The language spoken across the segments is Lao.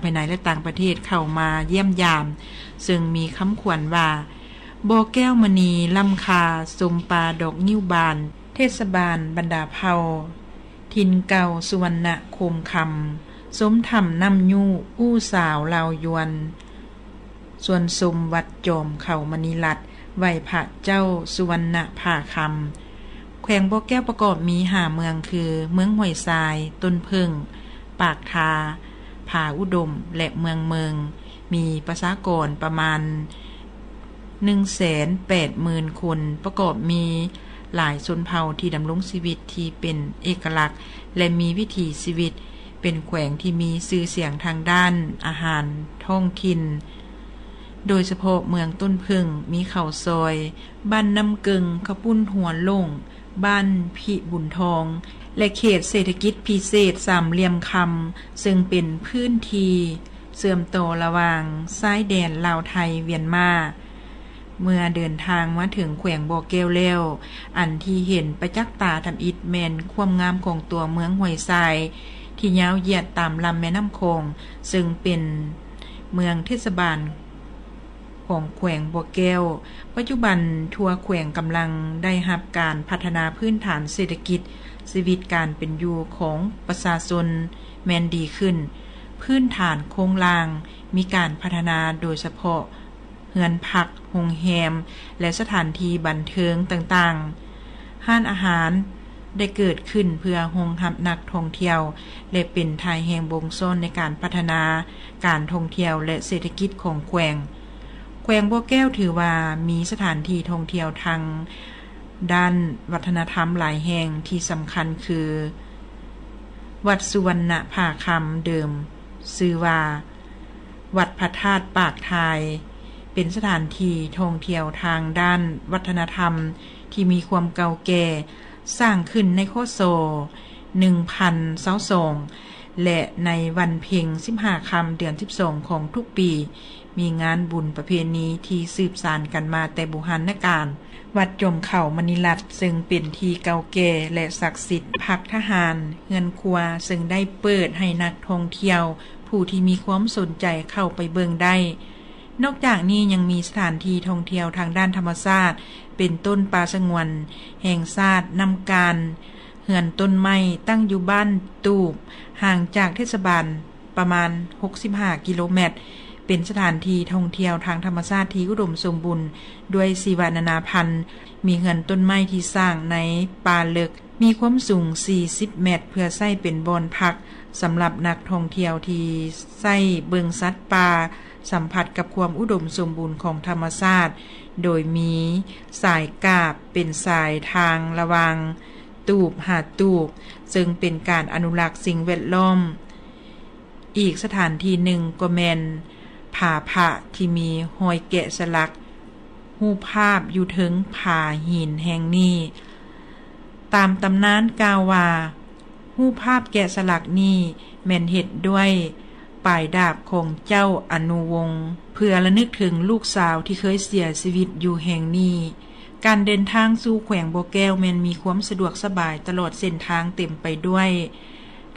ພາຍໃນ ແລະ ຕ່າງປະເທດເຂົ້າມາຢ້ຽມຢາມ, ເຊິ່ງມີຄຳຂວັນວ່າ ບໍ່ແກ້ວມະນີລ້ຳຄ່າ ຊົມປ່າດອກງິ້ວບານ. ເທດສະບານບັນດາເຜົ່າຖິ່ນເກົ່າສຸວັນນະໂຄມຄຳ, ຊົມຖ້ຳນ້ຳຍຸ ອູ່ສາວລາວຍວນ, ສວນຊົມວັດຈອມເຂົາມະນີລັດ, ໄຫວ້ພະເຈົ້າສຸວັນນະຜາຄຳ. ແຂວງບໍ່ແກ້ວປະກອບມີຫ້າເມືອງຄື ເມືອງຫ້ວຍຊາຍ, ຕົ້ນເຜິ້ງ, ປາກທາ, ຜາອຸດົມ ແລະ ເມືອງເມີງ, ມີປະຊາກອນປະມານໜຶ່ງແສນແປດໝື່ນຄົນ, ປະກອບມີຫຼາຍຊົນເຜົ່າທີ່ດຳລົງຊີວິດທີ່ເປັນເອກະລັກ ແລະ ມີວິຖີຊີວິດ. ເປັນແຂວງທີ່ມີຊື່ສຽງທາງດ້ານອາຫານທ້ອງຖິ່ນ, ໂດຍສະເພາະເມືອງຕົ້ນເຜິ້ງ ມີເຂົ້າຊອຍ, ບ້ານນ້ຳເກິ່ງ, ເຂົ້າປຸ້ນຫົວໂລ້ງ, ບ້ານພິບຸນທອງ ແລະ ເຂດເສດຖະກິດພິເສດສາມຫຼ່ຽມຄຳ, ເຊິ່ງເປັນພື້ນທີ່ເຊື່ອມຕໍ່ລະຫວ່າງຊາຍແດນລາວໄທ-ຫວຽນມາ. ເມື່ອເດີນທາງມາເຖິງແຂວງບໍ່ແກ້ວແລ້ວ, ອັນທີ່ເຫັນປະຈັກຕາທຳອິດແມ່ນຄວາມງາມຂອງຕົວເມືອງຫ້ວຍຊາຍ ທີ່ຍາວຢຽດຕາມລຳແມ່ນ້ຳຂອງ, ເຊິ່ງເປັນເມືອງເທດສະບານຂອງແຂວງບໍ່ແກ້ວ. ປັດຈຸບັນທົ່ວແຂວງກຳລັງໄດ້ຮັບການພັດທະນາພື້ນຖານເສດຖະກິດ, ຊີວິດການເປັນຢູ່ຂອງປະຊາຊົນແມ່ນດີຂຶ້ນ, ພື້ນຖານໂຄງລ່າງມີການພັດທະນາ, ໂດຍສະເພາະ ເຮືອນພັກ, ໂຮງແຮມ ແລະ ສະຖານທີ່ບັນເທີງຕ່າງໆ. ຮ້ານອາຫານໄດ້ເກີດຂຶ້ນເພື່ອຮອງຮັບນັກທ່ອງທ່ຽວ ແລະ ເປັນທ່າແຮງບົ່ງຊ້ອນໃນການພັດທະນາການທ່ອງທ່ຽວ ແລະ ເສດຖະກິດຂອງແຂວງ. ແຂວງບໍ່ແກ້ວຖືວ່າມີສະຖານທີ່ທ່ອງທ່ຽວທາງດ້ານວັດທະນະທຳຫຼາຍແຫ່ງ ທີ່ສຳຄັນຄື ວັດສຸວັນນະຜາຄຳ ເດີມຊື່ວ່າ ວັດພະທາດປາກທາຍ ເປັນສະຖານທີ່ທ່ອງທ່ຽວທາງດ້ານວັດທະນະທຳທີ່ມີຄວາມເກົ່າແກ່, ສ້າງຂຶ້ນໃນ ຄ.ສ. ໜຶ່ງພັນຊາວສອງ ແລະ ໃນວັນເພັງ ສິບຫ້າຄ່ຳ ເດືອນສິບສອງ ຂອງທຸກປີ ມີງານບຸນປະເພນີທີ່ສືບສານກັນມາແຕ່ບູຮານນະການ. ວັດຈອມເຂົາມະນີລັດ ເຊິ່ງເປັນທີ່ເກົ່າແກ່ ແລະ ສັກສິດ, ພັກທະຫານ, ເຮືອນຄົວ ເຊິ່ງໄດ້ເປີດໃຫ້ນັກທ່ອງທ່ຽວຜູ້ທີ່ມີຄວາມສົນໃຈເຂົ້າໄປເບິ່ງໄດ້. ນອກຈາກນີ້ຍັງມີສະຖານທີ່ທ່ອງທ່ຽວທາງດ້ານທຳມະຊາດ ເປັນຕົ້ນປ່າສະຫງວນແຫ່ງຊາດນ້ຳການ, ເຮືອນຕົ້ນໄມ້ ຕັ້ງຢູ່ບ້ານຕູບ, ຫ່າງຈາກເທດສະບານ ປະມານຫົກສິບຫ້າກິໂລແມັດ, ເປັນສະຖານທີ່ທ່ອງທ່ຽວທາງທຳມະຊາດທີ່ອຸດົມສົມບູນດ້ວຍຊີວະນານາພັນ, ມີເຮືອນຕົ້ນໄມ້ທີ່ສ້າງໃນປ່າເລິກ, ມີຄວາມສູງສີ່ສິບແມັດ ເພື່ອໃຊ້ເປັນບ່ອນພັກສຳລັບນັກທ່ອງທ່ຽວທີ່ໃຊ້ເບິ່ງສັດປ່າ, ສຳຜັດກັບຄວາມອຸດົມສົມບູນຂອງທຳມະຊາດ, ໂດຍມີສາຍກາບເປັນສາຍທາງລະຫວ່າງຕູບຫາຕູບ, ເຊິ່ງເປັນການອະນຸລັກສິ່ງແວດລ້ອມ. ອີກສະຖານທີ່ໜຶ່ງກໍແມ່ນຜາພະທີ່ມີຮອຍແກະສະຫຼັກຮູບພາບຢູ່ເທິງຜາຫີນແຫ່ງນີ້. ຕາມຕຳນານກ່າວວ່າ ຮູບພາບແກະສະຫຼັກນີ້ແມ່ນເຮັດດ້ວຍປາຍດາບຂອງເຈົ້າອະນຸວົງ ເພື່ອລະນຶກເຖິງລູກສາວທີ່ເຄີຍເສຍຊີວິດຢູ່ແຫ່ງນີ້. ການເດີນທາງສູ່ແຂວງບໍ່ແກ້ວແມ່ນມີຄວາມສະດວກສະບາຍຕະຫຼອດເສັ້ນທາງເຕັມໄປດ້ວຍ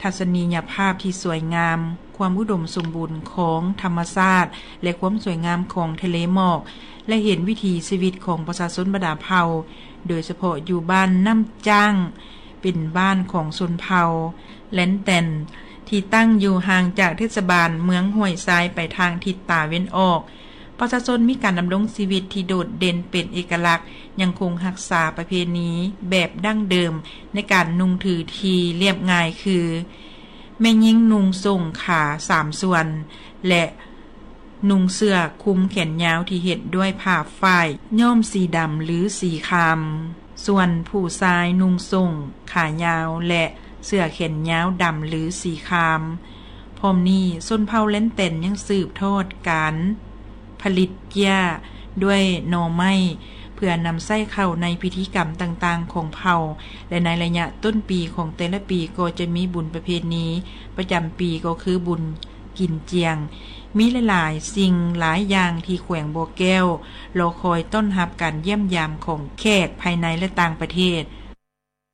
ທັດສະນີຍະພາບທີ່ສວຍງາມ, ຄວາມອຸດົມສົມບູນຂອງທຳມະຊາດ ແລະ ຄວາມສວຍງາມຂອງທະເລໝອກ ແລະ ເຫັນວິຖີຊີວິດຂອງປະຊາຊົນບັນດາເຜົ່າ, ໂດຍສະເພາະຢູ່ບ້ານນ້ຳຈ້າງ, ເປັນບ້ານຂອງຊົນເຜົ່າແລນແຕນ ທີ່ຕັ້ງຢູ່ຫ່າງຈາກເທດສະບານເມືອງຫ້ວຍຊາຍໄປທາງທິດຕາເວັນອອກ. ປະຊາຊົນມີການດຳລົງຊີວິດທີ່ໂດດເດັ່ນເປັນເອກະລັກ, ຍັງຄົງຮັກສາປະເພນີແບບດັ້ງເດີມໃນການນຸ່ງຖືທີ່ລຽບງ່າຍ ຄື ແມ່ຍິງນຸ່ງໂສ້ງຂາສາມສ່ວນ ແລະ ນຸ່ງເສື້ອຄຸມແຂນຍາວທີ່ເຮັດດ້ວຍຜ້າຝ້າຍຍ້ອມສີດຳ ຫຼື ສີຄາມ. ສ່ວນຜູ້ຊາຍນຸ່ງໂສ້ງຂາຍາວ ແລະ ເສື້ອແຂນຍາວດຳ ຫຼື ສີຄາມ. ພ້ອມນີ້ ຊົນເຜົ່າແລນແຕນຍັງສືບທອດການຜະລິດເຈ້ຍດ້ວຍໜໍ່ໄມ້ ເພື່ອນຳໃຊ້ເຂົ້າໃນພິທີກຳຕ່າງໆຂອງເຜົ່າ ແລະ ໃນໄລຍະຕົ້ນປີຂອງແຕ່ລະປີກໍຈະມີບຸນປະເພນີປະຈຳປີ ກໍຄືບຸນກິນຈຽງ. ມີຫຼາຍໆສິ່ງຫຼາຍຢ່າງທີ່ແຂວງບໍ່ແກ້ວລໍຄອຍຕ້ອນຮັບການຢ້ຽມຢາມຂອງແຂກພາຍໃນ ແລະ ຕ່າງປະເທດ.